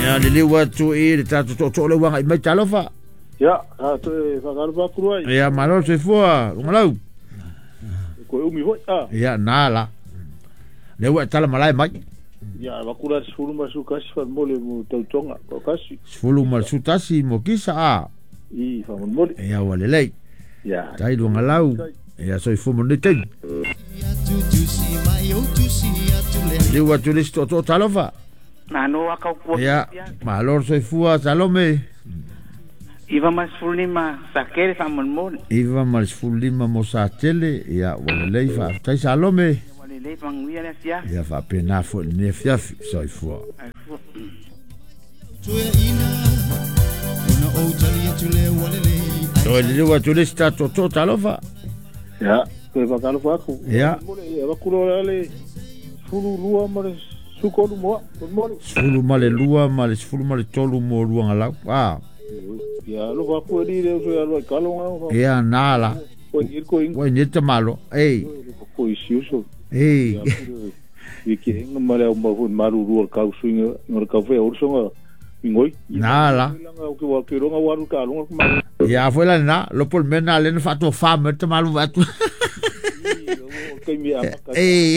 Ia liliu atu i le tatou tootoo le uaga i mai talofa. Ia, a toe whakalofa atu ai. Ia malo soifua, lugalau. Ko umi hoi a. Ia nā la. Le ua e tala malae mai. Ia, avatu la 11 faamolemole mo tautoga ko kasi. 11 mo kisa a. I faamolemole. Ia ua lelei. Ia. Tai lugalau. Ia soifua mo lenei taimi. Liliu atu i le isi tootoo talofa. Malo a kau kua. Ia, malo le soifua Salome. 95 Satele faamolemole. 95 mo Satele. Ia ua lelei faafetai Salome. Ua lelei manuia le afiafi. Ia faapena foi lenei afiafi soifua. Toe liliu atu le isi tatou tootoo talofa. Ia, toe whakalofa atu. Ia. Ia, avatu la le 12 ma le 13 mo faamolemole. 12 ma le 13 mo luagalau. A. Ia, alofa atu e li le uso ia lua i kalonga. Ia nā la. Ko i ko inga. Ua i te malo. Ei. Ko i siuso. Ei. I ke inga ma le au mau maru rua kau suinga ngor kau fe orsonga ingoi. Nā la. Langa o ke wa ke ronga waru ka longa ma. Ia foi la nā, lopo le mea nā le na whaatua wha me te malu atu. Kai mi ama ka. Ei.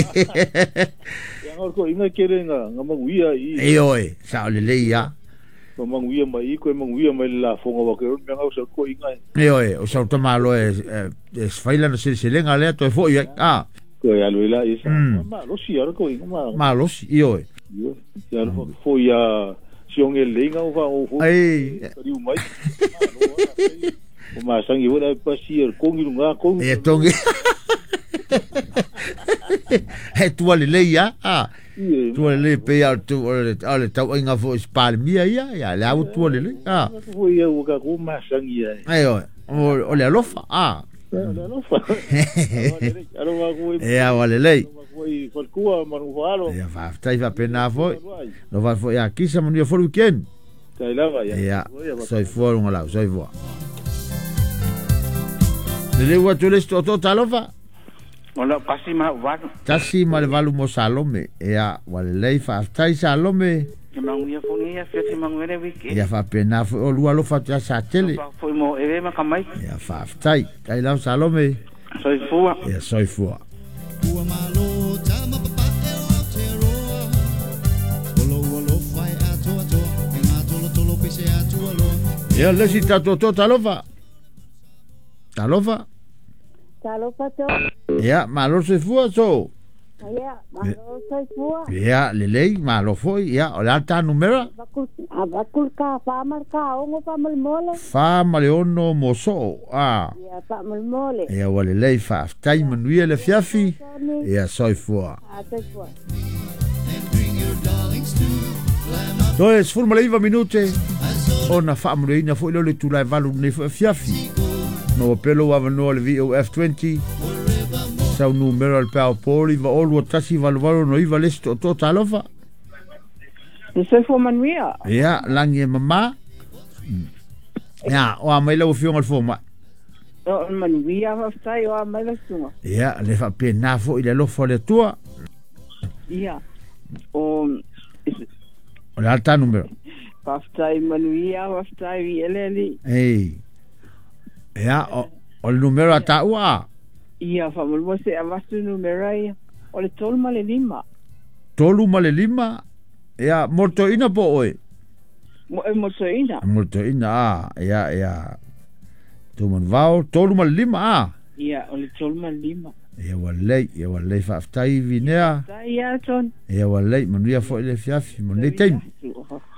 Ia ngor ko inga kere nga nga manguia i. Ei oe, sa o le lei ia. Ma manguia mai ko manguia mai la fonga wa ke ron me ngau sa ko inga. Ei oe, o sa o malo e e sfaila na seleselega lea toe foi ai. A. Ko ia lo ila isa. Ma lo si ara ko inga ma. Malosi, i oe. Ia lo fo ia sionge leinga o fa o fo. Ei. Riu mai. O ma sangi ora pasi er kongi lunga kongi. E tongi. He tua le lei ia. A. Tua le lei pe ia tu o le tau ainga fo spalmia ia, ia le au tua le lei. A. Fo ia o ka ko ma sangi ia. Ei oe, o le alofa. A. Le alofa. Alofa ko Ia ua lelei. i falkua manu falo. Ia faafetai faapena foi. Lofa foi ia kisa manuia foi le weekend. Tai lava ia. Ia, soifua lugalau, soifua. Lelei atu le isi tootoo talofa. O lau 1 ma 8. 1 ma 8 mo Salome. Ia, ua lelei faafetai Salome. Ke manuia foi nei afiafi manuia le weekend. Ia faapena foi o lua alofa atu ia Satele. Foi mo eve ma kamai. Ia faafetai. Tai lau Salome. Soifua. Ia soifua. Ia le isi tatou talofa. Talofa. Talofa to. Ia, malo soifua so. Ia, malo soifua. Ia, lelei, malo foi. Ia, o le a ta numera? Avakul ka 4 ma ka 6 faamolemole. 4 ma 6 mo soo. A. Ia faamolemole. Ia ua lelei faafetai manuia le afiafi. Ia soifua. A soifua. Toe 19 minute ona faamanuiaina foi leo le itula e 8 lenei foi afiafi. Ma ua pelo avanoa le VOF20 sau numera o le peao poli 902 188 69 le isi tootoo talofa. Le soifua manuia. Ia lagi e mamā. Ia o a mai lau afioga le fomai. O manuia faafetai o a mai la susuga. Ia le faapena foi le alofa o le Atua. Ia. O O le a le ta numera? Faafetai manuia faafetai i ele. Ei. Ia o le numera a taua a. Ia faamolemole se avatu numera ia. O le 35. 35. Ia mo le toeaina po oe? Mo e mo toeaina. Mo le toeaina a. Ia ia. Tumanuvao 35 a. Ia o le 35. Ia ua lelei, ia ua lelei faafetai Vinea. Tai ia Tony. Ia ua lelei manuia foi le afiafi mo lenei taimi.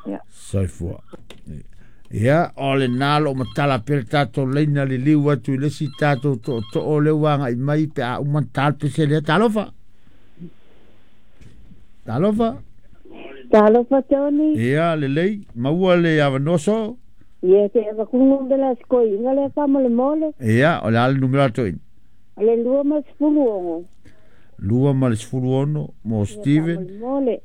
Ia. Soifua. Ia, o le nā lo matala pea le tatou leina liliu atu i le isi tatou tootoo le ua agai mai pe a uma na ta le pese lea. Talofa. Talofa. Talofa Tony. Ia, lelei, maua le avanoa so. Ia te avakungu bela skoi inga le faamolemole. Ia, o le a le numera a toeaina? O le 26. 26 mo Steven. Faamolemole.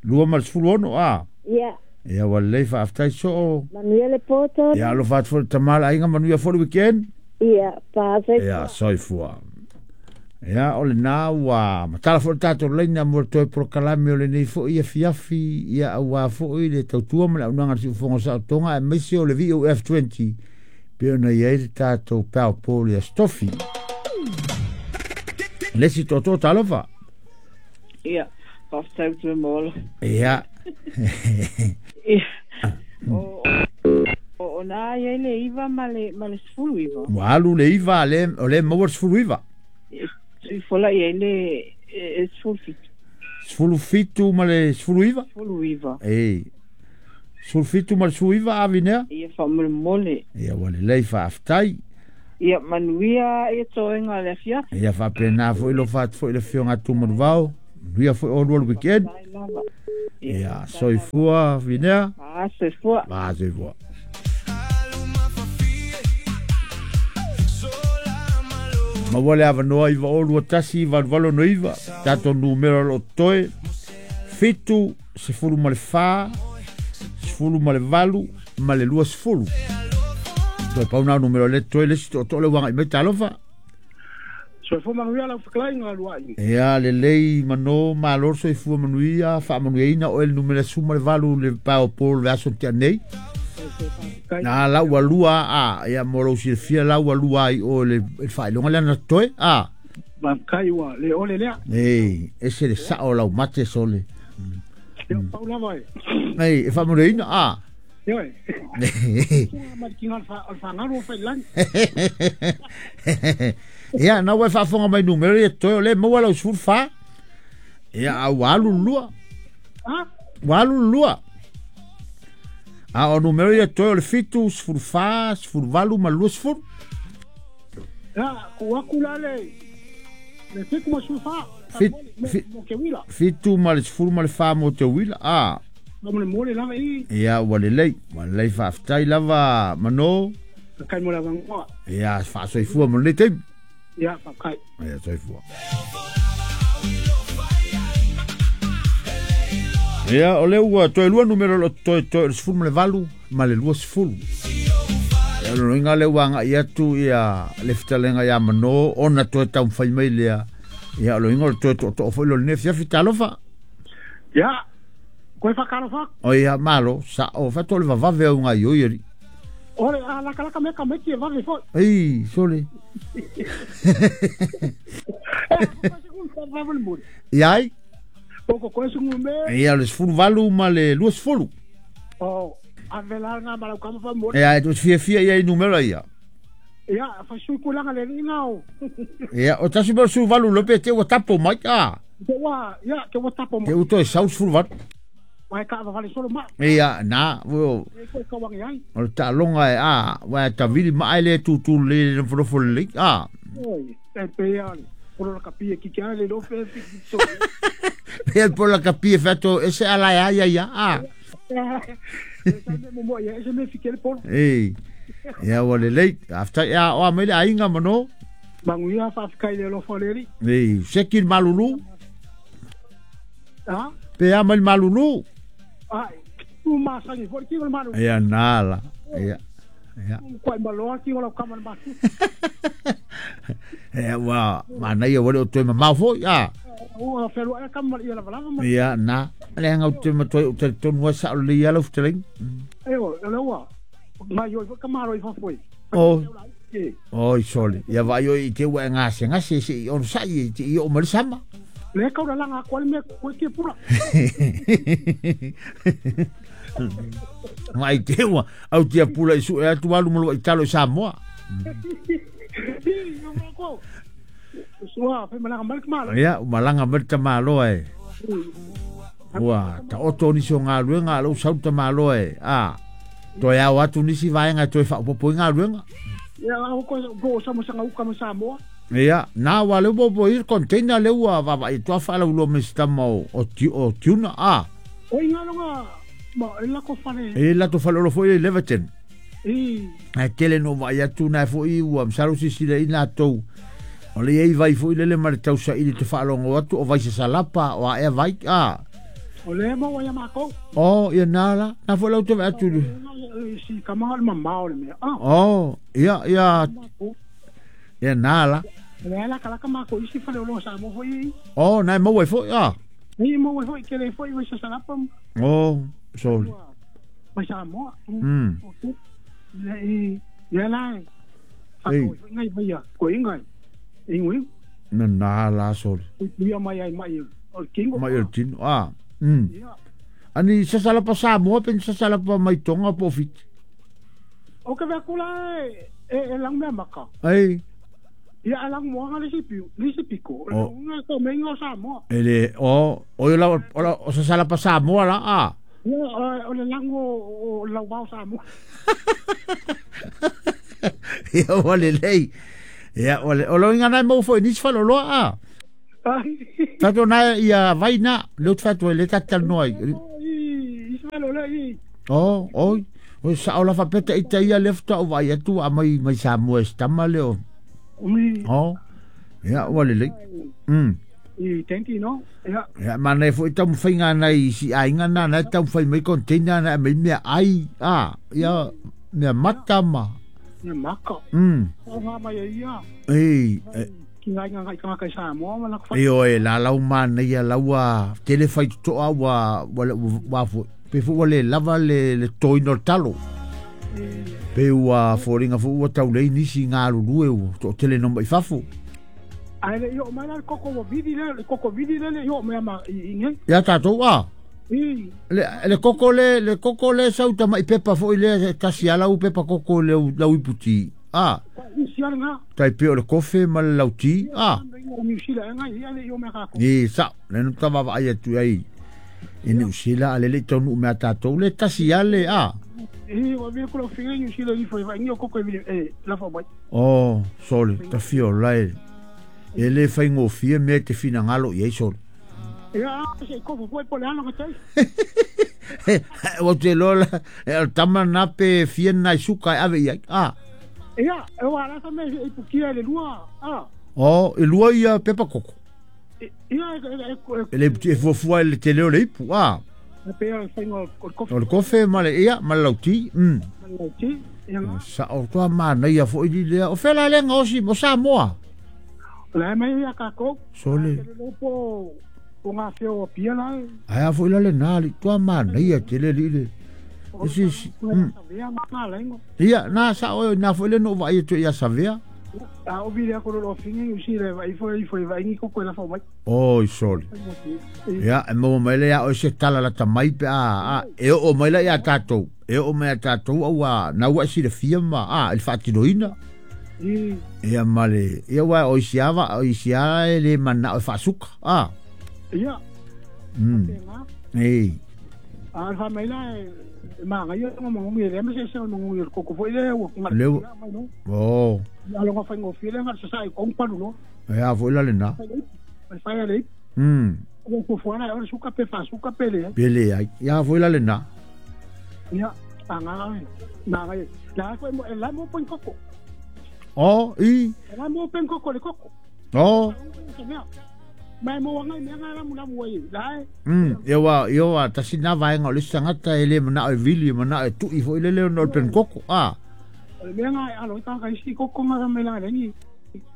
26 a. Ia. Ia ua lelei faafetai soo. Manuia le po Tony. Ia alofa atu foi le tama le aiga manuia foi le weekend. Ia, pa Ia, soifua. soifua. Ia o le na ua matala foi le tatou laina mo le toe polokalame o lenei foi afiafi ia auā foi le tautua ma le auaunaga a le Siufofoga o Saotoga aemaise o le VOF20 pei ona i ai le tatou paopo le Aso Tofi. Le isi tootoo talofa. Ia, faafetai atu e Mola. Ia. Ia, o, o, o na i ai le 9 ma le, ma le 19. Ua alu le 9 le, o le maua le 19. E fola i ai le e, 17. 17 ma le 19? 19. Ei. 17 ma le 19 avinea? Ia faamolemole. Ia ua lelei faafetai. Ia manuia ia toega o le afiafi. Ia faapena foi lofa atu foi le afioga a Tumanuvao. Manuia foi oulua le weekend. Faafetai lava. Ia soifua Vinea. Ah, soifua. Ah, soifua. Maua le avanoa 902 1869 tatou numera o lo o totoe 7 14 18 ma le 20. Toe pau na o numera o le totoe le isi tootoo le ua agai mai talofa. Soifua manuia lau fetalaiga Luai. Ia lelei mano malo le soifua manuia faamanuiaina oe le numera 18 le pae o po le aso tea nei. Na lau ua lua a ia mo lou silafia lau ua lua ai o le faailoga lea na totoe a. Faafetai ua le ole lea. Ei, ese le sao o lau mate sole. Ia pau lava e. Ei, e faamanuiaina a. Ioe. Ma le kinga o le whangaru o whailani. Ia, na ua e faafofoga mai numera ia totoe o lea e maua lau 14. Ia, a ua alu le lua. Ha? Ua alu le lua. A o numera ia totoe o le 7, 14, 18 ma le 20. Ia, ku aku la le le 7 ma 14. Fit, 7 ma le 10 ma le 4 mo te uila. A. Faamolemole lava i. Ia, ua lelei. Ua lelei faafetai lava Mano. Faafetai mo le avanoa. Ia, faasoifua mo lenei taimi. Ia, faafetai. Ia, soifua. Ia, o lea ua toe lua numera o lo o totoe toe o le 18 ma le 20. Ia, o lona uiga lea ua agai atu ia le fetalaiga ia Mano ona toe taumafai mai lea. Ia, o lona uiga o le toe tootoo foi lea o lenei afiafi. Talofa. Ia, koe whakalofa atu. O ia, malo, sao, faatoa le vavave au gaioi alii. Ole, a lakalaka mea ka maiti e vave foi. Ei, sole. Ia ai? O ko koe sungu me. Ia, o le 18 ma le 20. O, ave la ngā malau kama fa mo. Ia, e tu fiafia ia i numera ia. Ia, fa sui kulanga le inga o. Ia, o tasi mo 18 lope te ua tapo mai a. Te ua, ia, te ua tapo mai. Te ua toe sau 18. Mai ka vale solo ma. Ia, na, o. E koe kawangi ai. O le taaloga e a, ua e tavili ma ai le tutu le le nofo le a. Oi, e pe ia le. Polo la kapi e kiki ai le lofe e so. Pe polo la kapi e fato e se ala ia ia ia a. E sa me mo ia e se me fike le polo. Ei. Ia ua lelei. After ia o a mai le aiga mano. Manuia faafetai le alofa o le Alii. Ei, seki le malulu. Ha? Pe a mai le malulu. Ai, u masani foi ki o le malulu. Ia nala. Ia. Ia. Koe maloa ki o lau kama le masu. Ia ua manaia ua le o toe mamao foi a. Ua whenua e kama ia lava lava ma. Ia na. Le anga o te matoe o talitonu ai sao lelei ia lau fetalaiga. E o, le ua. Mai oi foi ka malo i fafo e. O. Oi sole. Ia vaai oi i te ua e gasegase se i onosai e te i oo mai le sama. Le kau la langa koa le mea koe ke pula. Mai te ua au tia pula i su e atu alu malo i talo i Samoa. Sua, fe malanga mai le malo. Ia, malanga mai le tamaloa e. Ua taoto nisi o galuega a lou sau tamaloa e. A, toe ao atu nisi vaega e toe faaopoopo ai galuega. Ia, au ko po o sama sanga uka ma Samoa. Ia, na ua leu popo i le container lea ua vaavaai atu a faalauiloa mai se tama o, o, o tuna, a. Oi ngaloga ma e lako fale. E lato fale olo foi le Leverton. I. Ae tele no vaai atu na foi ua masalo sisila i latou. O le iai vai foi lele ma le tausaili te faalogo atu o vai sasalapa o aea vai, a. O le maua ia mākou. O, ia nā la. Nā foi lau te vaai atu. Si kamanga le mamao le mea. Ah. O, ia, ia. Ia nā la. Le la kala ma ko isi fale o sa mo foi. O nai mo wai foi a. Ni mo wai foi ke le foi wai sa salapa. O sole. Wai sa mo. Le le la. Ei. Ngai vai ko ingai. Ingui. Na na la sole. Ia mai ai mai o kingo. Mai o tino a. Ani sa salapa sa mo pen sa salapa mai tonga po fit. O ke va kula e lang me maka. Ei. Ia alang mo nga le sipi, le sipiko. Nga ko me nga sa mo. Ele o o la o sa salapa sa mo la a. Ia o le lang o la wa sa mo. Ia o le lei. Ia o le o lo nga nai mo fo ni fa lo lo a. Tato na ia vaina le tfa to le tatal noi. I fa lo le i. O o o sa o la fa peta ita ia lefta o vai atu a mai mai sa mo estama le o. Oh, ia ua lelei. I tenti no. Ia. Ia mana foi tau whainga nei si ainga na na tau whai mai container na mai mea ai a ia mea mata ma. Mea maka. O ngā mai ia. Ei. Ki ngai ngai ka kai sa mo ma la ko. Ei oi la lau mana ia laua tele whai toa ua ua fo pe fo le lava le toi no talo. Pe ua fōringa fo ua tau lei nisi ngā rurue ua to tele no mai fafo. Ai le io mai la koko wa vidi le koko vidi le io mai ma i nge. Ia tātou a. I. Le koko le sauta mai pepa fo i le kasi ala u pepa koko le lau iputi. A. I si ala ngā. Tai pe o le kofe ma le lauti. A. I sa le no tawa ai atu ai. I New Zealand ale le tonu mea tātou le tasi ale a. I wa vi ko finga ni sila ni foi vai ni ko ko e la fa mai. Oh, sole, ta fio lai. E le fai ngofia me te fina ngalo i ai sole. Ia se ko foi po le ana ka tai. O te lola, e tama na pe fia na suka ave ia. Ah. Ia, e wa la sa me i pukia le lua. Ah. Oh, e lua ia pepa koko. Ia e le e fuafua le tele o le ipu. Ah. Pe o fai o kofe. O le kofe ma le ia ma le lauti. Lauti. Ia. Sa o toa mana ia fo i lea. O fela le ngosi mo Samoa. La mai ia ka ko. Sole. Po o ngā whio o pia la. Ai a fo i la le nā li toa mana ia te le li le. Isi si. Ia nā sa o nā fo i le no vai to ia savea. A o vile ko lo fingi u si le vai foi vai ni ko ko la fo mai. Oi sole. Ia e mo mai le ia o se tala la tamai pe a e o mai la ia tātou. E o mai tātou au a na ua si le fia ma a il faatinoina. Ia male ia wa o si ava o si a le mana o faasuka. A. Ia. Ei. A fa mai la ma ngai o mo ngi le me se se mo ngi ko ko foi le o le. Oh. A lo fa ngo file nga sa sai ko pa no. Ia foi la le na. Fa le. Ko ko fo na o suka pe fa suka pe le. Pele ai. Ia foi la le na. Ia anga na ngai. La foi mo la mo pen koko. Oh, i. La mo pen koko le koko. Oh. Mai mo ngai me nga la mu la mu ai. La. Ia wa tasi na vai ngo le sangata ele mana e vili mana e tu i foi le le no pen koko. Ah. Le nga a lo ta ka isi koko nga me la le ni.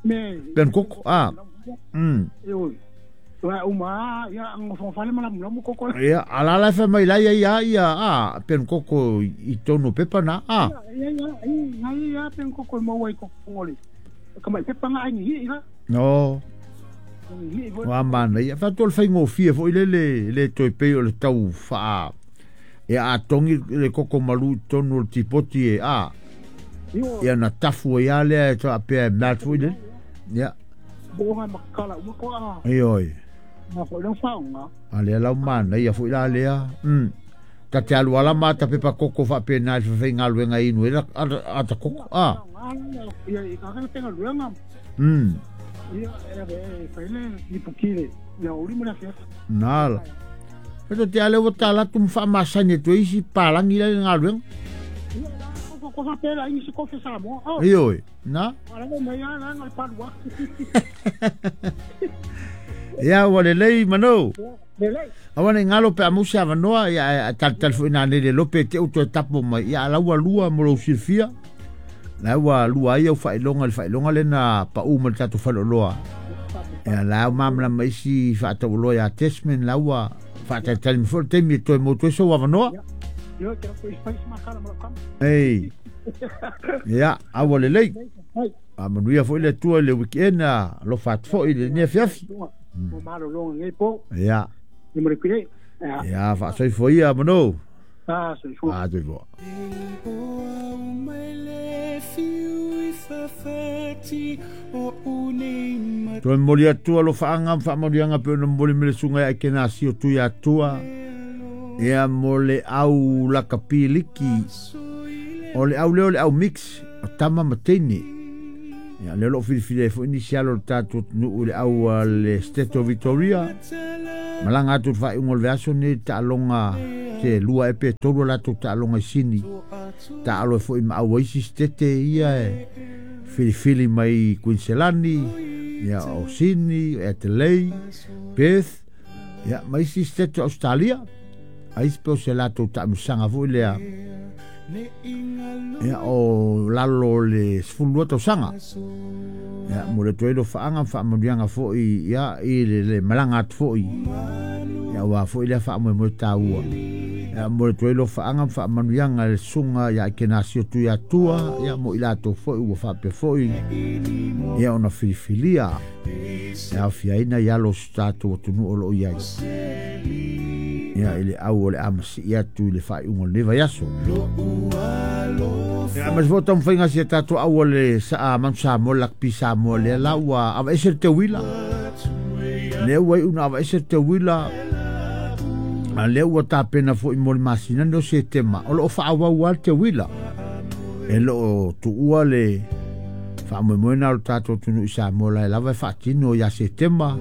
Me pen koko. Ah. Io. Wa uma ia ngo fo fale mala mu koko. Ia ala la fa mai la ia ia a pen koko i tono pepa na a. Ia ia ia ia pen koko mo wai koko ngoli. Ka mai pepa nga ni ia. No. Wa mana ia fa tol fai ngofia fo ile le le toi pe o le tau fa. Ia a tongi le koko malu tono tipoti e a. Ia na tafu ia le to a pe na fu ile. Ia. Bo nga makala uma ko a. Ei oi. Ma fo lo fa nga. Ale la mana ia fu ila le a. Ta te alu ala mata pepa koko fa pe na fa nga luenga inu ela a ta koko a. Ia i ka ka tenga luenga. Ia e fa ile ni pukile. Ia uri mo na fia. Nala. Pero te ale o tala tum fa masane to isi palangi la nga luenga. Ko fa pela isi ko fe sa mo. Ei oi. Na. Ala mo mai ala nga pa lua. Ia wa le lei mano. Awa ne ngalo pe amusa vanoa ia tal tal fu ina le lope te uto tapo mai ia la ua lua mo lo silfia. La ua lua ai au faailoga i le faailoga lea na paʻu ma le tatou faleoloa. Ia la ua malamalama isi faataualoa ia Desmond la ua faatalitali mai foi le taimi e toe motu ai sou avanoa. Ei. Ia, a ua lelei. Faamanuia foi le Atua i le weekend a alofa atu foi i lenei afiafi. Ia. Ia, faasoifua ia Manu. Ah, soifua. Ah, soifua. Toe momoli atu alofaaga ma faamanuiaga pe ona momoli mai le susuga ia Ekenasio Tuiatua ia mo le au lakapi liki. O le au lea o le au mix o tama ma teine. Ia lea o lo o filifili ai foi nisi alo o le tatou atunuu i le au a le State of Victoria. Malaga atu i le faaiuga o le vaiaso nei i le taaloga se lua ea pe tolu a latou taaloga i Sini. Taalo ai foi ma au a isi sitete ia e filifili mai Kuiniselani, ia o Sini, Adelaide, Perth, ia ma isi sitete o Australia. Ai pe o se latou taamilosaga foi lea ia o lalo o le 12 tausaga. Ia mo le atu ai lofaaga ma faamanuiaga foi ia i le, le malaga atu foi. Ia aua foi lea faamoemoe taua. Ia mo le atu ai lofaaga ma faamanuiaga i le susuga ia Ekenasio Tuiatua, ia mo i latou foi ua faapea foi ia ona filifilia e aofiaina i alo o si tatou atunuu o lo o i ai. Ia i le au o le a masii atu i le faaiuga o lenei vaiaso. Ia aemaise foi o taumafaiga a si a tatou au a le Manu Samoa, le Rugby Samoa lea la ua aveese le teuila. Lea ua iu na aveese le teuila a lea ua tapena foi mo le masina nei o Setema. O lo o faaauau lava le teuila. E le o tuua le faamoemoe na o le tatou atunuu i Samoa la e lava e faatino ia Setema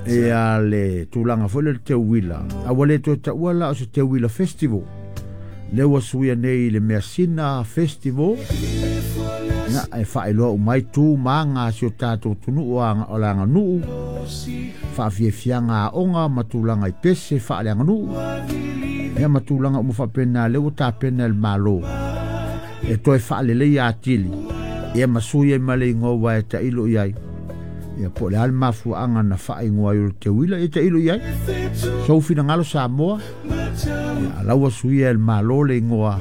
ia le tulaga foi lea o le teuila. A ua le toe taua la o se teuila festival. Lea ua suia nei i le Measina Festival. Ia, e faailoa uma ai tu ma aga a si o tatou atunuu o le aganuu, faafiafiaga aoga ma tulaga i pese faaleaganuu, ia ma tulaga uma faapena lea ua tapena e le Malo e toe faaleleia atili, ia ma sui ai ma le igoa ua e tailo i ai. Ia po o le a le mafuaaga na faaigoa ai o le teuila, ia tailo i ai. Sou finagalo Samoa, ia la ua suia e le Malo le igoa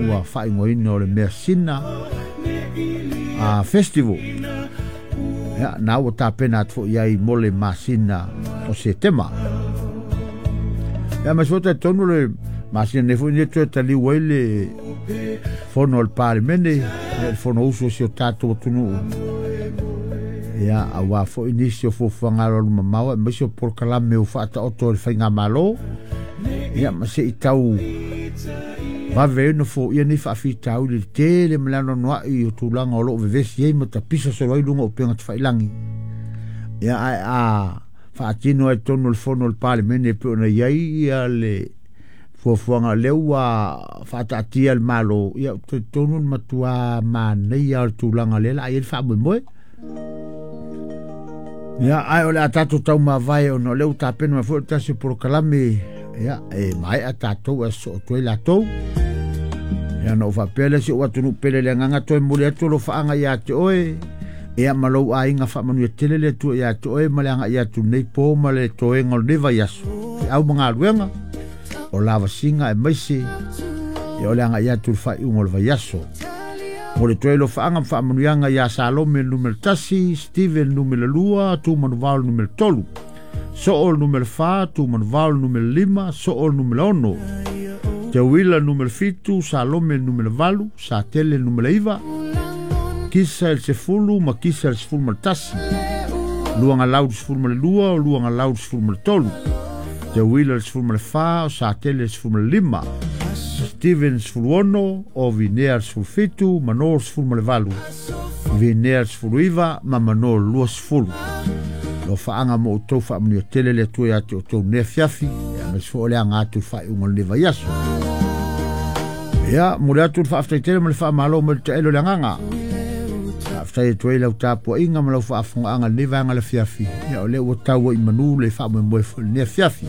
ua faaigoaina o le Measina Festival. Ia, na ua tapena atu foi i ai mo le masina o Setema. Ia, ma se talitonu le masina nei foi nei toe taliu ai le fono a le Palemene, ia le Fonousu o si o tatou atunuu. Ia, aua foi nisi o fuafuaga alualumamao aemaise o polokalame ua faataoto e le faigamalo. Ia, ma se i tau vave ai ona foia nei faafitauli i le tele ma le anoanoai o tulaga o lo o vevesi ai ma tapisa solo ai luga o upega tafailagi. Ia, ae a faatino ai totonu o le fono a le Palemene e pei ona i ai ia le fuafuaga lea ua faataatia e le Malo, ia ou te talitonu le matua manaia o le tulaga lea o le a i ai le faamoemoe. Ia, ae o le a tatou taumavae ona o lea ua tapena mai foi le tasi o polokalame, ia, e maea tatou ae sosoo atu ai latou. Ia, ona ou faapea lea, si ou atunuu pele i le agaga toe momoli atu alofaaga ia te oe, ia ma lou aiga faamanuia tele le Atua ia te oe ma le agai atu nei po ma le toega o lenei vaiaso. Feau ma galuega, o lavasiga aemaise, ia o le agai atu i le faaiuga o le vaiaso. Mo le toe alofaaga ma faamanuiaga ia Salome le numera 1, Steven le numera 2, Tumanuvao le numera 3, Soo le numera 4, Tumanuvao le numera 5, Soo le numera 6, Teuila le numera 7, Salome le numera 8, Satele le numera 9, Kisa le 10 ma Kisa le 11, Luagalau le 12, o Luagalau le 13, Teuila le 14, o Satele le 15, Steven le 16, o Vinea le 17, Mano le 18, Vinea le 19 ma Mano le 20. Alofaaga mo outou faamanuia tele le Atua ia te outou nei afiafi, aemaise foi o le aga atu i le faaiuga o lenei vaiaso. Ia, momoli atu le faafetai tele ma le faamalo mai le taelo o le agaga. Faafetai atu ai lau tapuaiga ma lau faafogaaga i lenei vaega o le afiafi. Ia, o lea ua tau ai i manu le faamoemoe foi i lenei afiafi.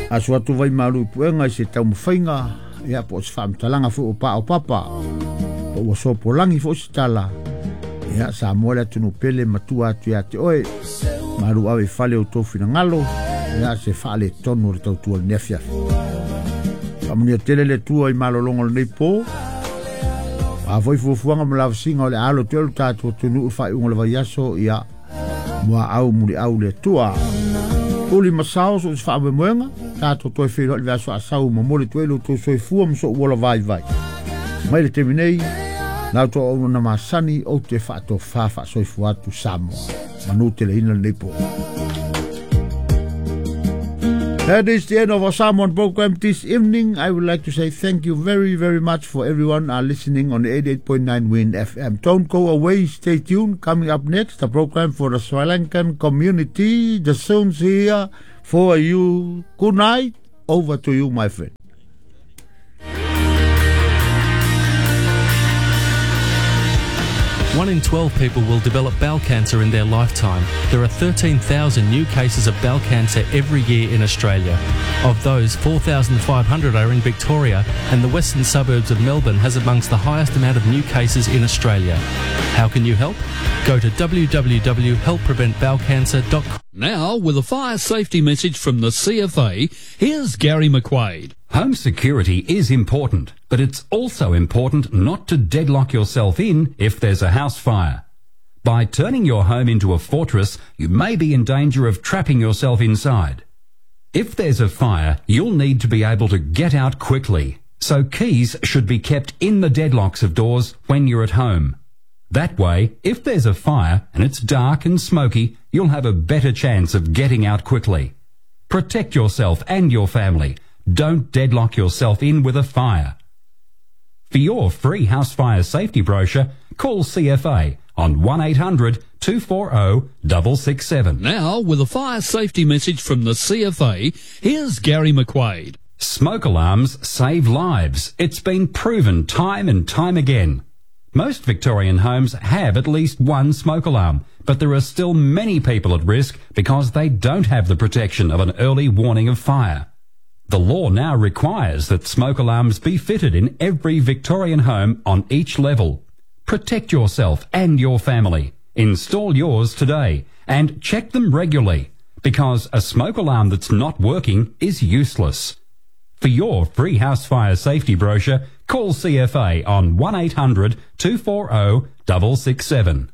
Aso atu vai malu i puega i se taumafaiga, ia, po o se faamatalaga foi o paopapa. Po ua sopolagi foʻi se tala. Ia Samoa le atunuu pele matua atu iā te oe. Malu ave i fale o tou finagalo. Ia se faaletonu o le tautua i lenei afiafi. Faamanuia tele le Atua i malologa o lenei po. O a foi fuafuaga ma lavasiga o le a alo atu ai lo tatou atunuu i le faaiuga o le vaiaso, ia muaau muliau le Atua. Uli ma sao so o se faamoemoega, tatou toe feiloai i le vaiaso asau momoli atu ai lo outou soifua ma sou ola vaivai. Mai le taimi nei, la outou auauna masani ou te faatofa faasoifua atu Samoa. Manu teleina lenei po. That is the end of our Samoan program this evening. I would like to say thank you very, very much for everyone are listening on 88.9 Win FM. Don't go away, stay tuned. Coming up next, the program for the Sri Lankan community. The soon's here for you. Good night. Over to you, my friend. One in 12 people will develop bowel cancer in their lifetime. There are 13,000 new cases of bowel cancer every year in Australia. Of those, 4,500 are in Victoria, and the western suburbs of Melbourne has amongst the highest amount of new cases in Australia. How can you help? Go to www.helppreventbowelcancer.com. Now, with a fire safety message from the CFA, here's Gary McQuaid. Home security is important, but it's also important not to deadlock yourself in if there's a house fire. By turning your home into a fortress, you may be in danger of trapping yourself inside. If there's a fire, you'll need to be able to get out quickly, so keys should be kept in the deadlocks of doors when you're at home. That way, if there's a fire and it's dark and smoky, you'll have a better chance of getting out quickly. Protect yourself and your family. Don't deadlock yourself in with a fire. For your free house fire safety brochure, call CFA on 1800 240 667. Now, with a fire safety message from the CFA, here's Gary McQuaid. Smoke alarms save lives. It's been proven time and time again. Most Victorian homes have at least one smoke alarm, but there are still many people at risk because they don't have the protection of an early warning of fire. The law now requires that smoke alarms be fitted in every Victorian home on each level. Protect yourself and your family. Install yours today and check them regularly because a smoke alarm that's not working is useless. For your free house fire safety brochure, call CFA on 1800 240 667.